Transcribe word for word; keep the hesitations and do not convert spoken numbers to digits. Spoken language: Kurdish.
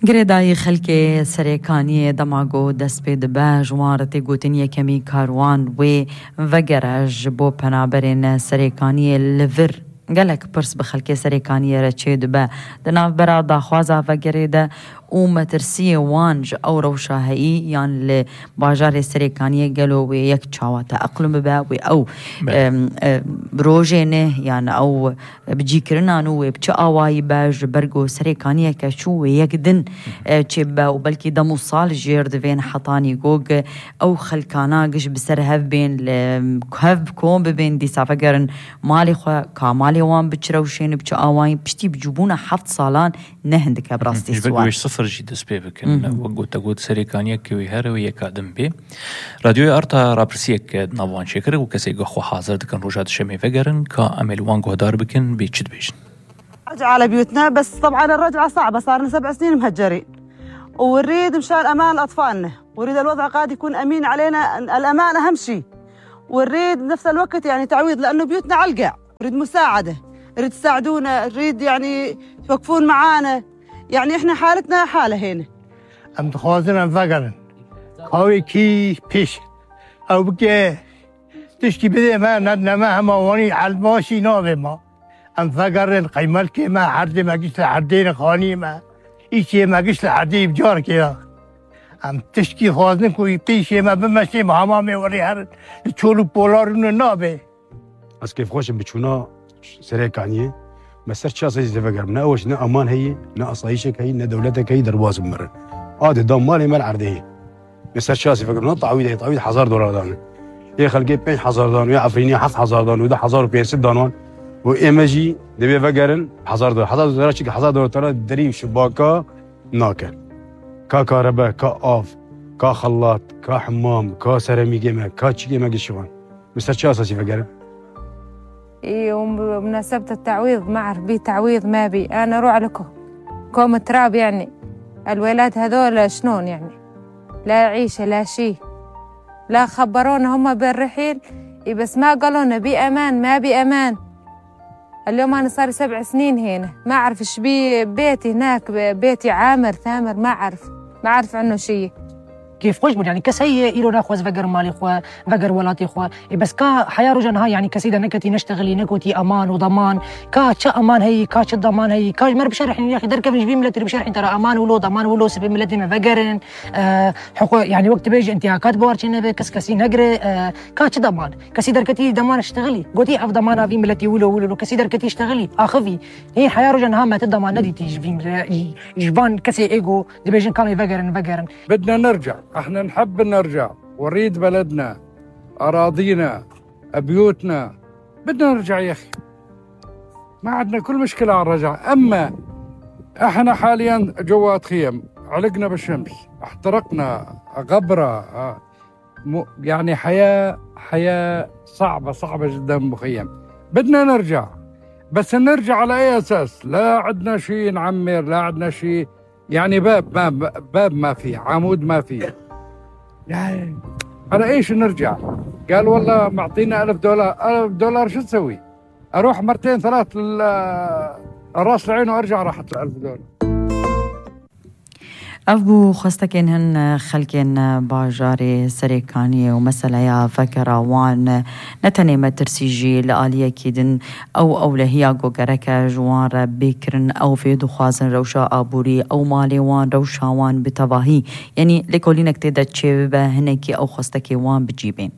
Girêdayî xelkê Serêkaniyê dema ku dest pê dibe, ji wan re tê gotin yekemî karwan wê vegere ji bo penaberên Serêkaniyê li vir. Gelek pirs bi xelkê Serêkaniyê re çê dibe di navbera daxwaza vegerê de û metirsiyê wan ji ew rewşa heyî yan li bajarê Serêkaniyê gelo wê yek çawa teeqlum bibe, wê ew, Belê. em, em, rojê ne yan ew bicîkirina nû wê bi çi awayî be, ji ber ku Serêkaniyeke çû wê yek din, e, çê bibe û belkî dem û sal jêr divên hetanî ku ew xelkana giş bi ser hev bên, li hev bi kom bibên, dîsa vegerin malê xwe, ka malê wan bi çi rewşên, bi çi awayî, piştî bicûbûna heft salan ne hindik e bi rastî Ji ber ku sual. wê ji sifir jî dest pê bikin. Mhm. Wek ku te got, Serêkaniyeke wî here wê yeka din bê. Radyoya Arta rapirsiyek di nav wan çêkir û kesê ku xwe hazir dikin roja dişemê vegerin, ka em ê li wan guhdar bikin, bê çi dibêjin? رجعة على بيوتنا، بس طبعًا الرجعة صعبة، صار لنا سبع سنين مهجرين. ونريد مشان أمان أطفالنا، ونريد الوضع قاعد يكون أمين علينا، الأمان أهم شي. ونريد بنفس الوقت يعني تعويض، لأنه بيوتنا على القاع. نريد مساعدة، نريد تساعدونا، نريد يعني توقفون معانا. يعني إحنا حالتنا حالة هنا. Em dixwazin em vegerin. Ka wê kî pêş. Ew bike tişkî bidê me, nedine me hema wanî elmaşî navê me. Em vegerin qeymelkê me, herdê me giş li herdê ne, xanî me. Îşê me giş li herdê bi carkê ya. Em tişkî xwazin ku qîşê me bimeşê, me hemamê werê herin. Li çol û polar rûne nabe. Ez kêfxweş im bi çûna Serêkaniyê. Me ser çi esasî tê vegerim? Ne ew ne aman heyî, ne asayîşek heyî, ne dewletek heyî, derbas bimirin. Adê da malê me li erdê heyî. Me ser çi esasî vegerim? Na tawîd heyî, tawîd hezar dolar dane. Yê xelkê pênc hezar dan, yê Efrînê heft hezar dan, wê du hezar û pênc sed dan wan. Û ê me jî divê vegerin hezar dolar. Hezar dolar çi? Hezar dolar tera derî şibaka nake. Ka karebe, ka av, ka xelat, ka hemam, ka seremîgê me, ka çîkê me gişivan. Bi ser çi esasî vegerin? Î, û bi munasebet te'wîd, ma e'rif bî te'wîd ma bî. Ana rû aleko. Kom turab, yanî. Elwêlad hedol şnûn, yanî. La îşe, la şî. La xeberûn huma bi rihîl. Î, bes ma galûn bi eman, ma bi eman. اليوم أنا صار لي سبع سنين هنا، ما أعرف إيش بي بيتي هناك، بيتي عامر ثامر، ما أعرف، ما أعرف عنه شيء. Kêfxweş bûn, yanî kes heye îro naxwaz veger malê xwe, veger welatê xwe. Ê, bes ka heya roja niha, yanî kesî de neketî neştexilî, negotî eman û daman. Ka çi eman heyî, ka çi daman heyî, ka ji me re bişerhîn, yaxî derkevin ji vî miletê re bişerhîn te re eman wilo, daman wilo, sibê miletê me vegerin. E, hiqû-, yanî wek dibêje întîhakat bi warçê nebe, kes kesî negire, e, ka çi daman? Kesî derketî deman ştexilî. Gotî ev demana vî miletî wilo wilo, kesî derketî ştexilî. Axivî. Hê heya roja niha me ti deman nedîtî ji vî mile-, ji, ji van kesê ê ku dibêjin kamê vegerin, vegerin. بدنا نرجع، احنا نحب نرجع، ونريد بلدنا، أراضينا، بيوتنا، بدنا نرجع يا أخي. ما عندنا كل مشكلة على الرجعة، أما احنا حاليا جوات خيم، علقنا بالشمس، احترقنا، غبرة، آه، م-، يعني حياة، حياة صعبة، صعبة جدا مخيم. بدنا نرجع، بس نرجع على أي أساس؟ لا عندنا شيء نعمر، لا عندنا شيء، يعني باب ما، باب ما في، عمود ما في. يعني على إيش نرجع؟ قال: "والله معطينا ألف دولار". ألف دولار شو تسوي؟ أروح مرتين ثلاث لل-، راس العين وأرجع، راحت الألف دولار. Ev bû xwestekên hin xelkên bajarê Serêkaniyê û meseleya vekera wan ne tenê metirsî jî li aliyekî din ew ewlehiya ku gerek e ji wan re bê kirin, ew vê dixwazin rewşa aborî, ew malê wan, rewşa wan bi tevahî, yanî lêkolînek tê de çêbibe, hinekî ew xwestekê wan bi cî bên.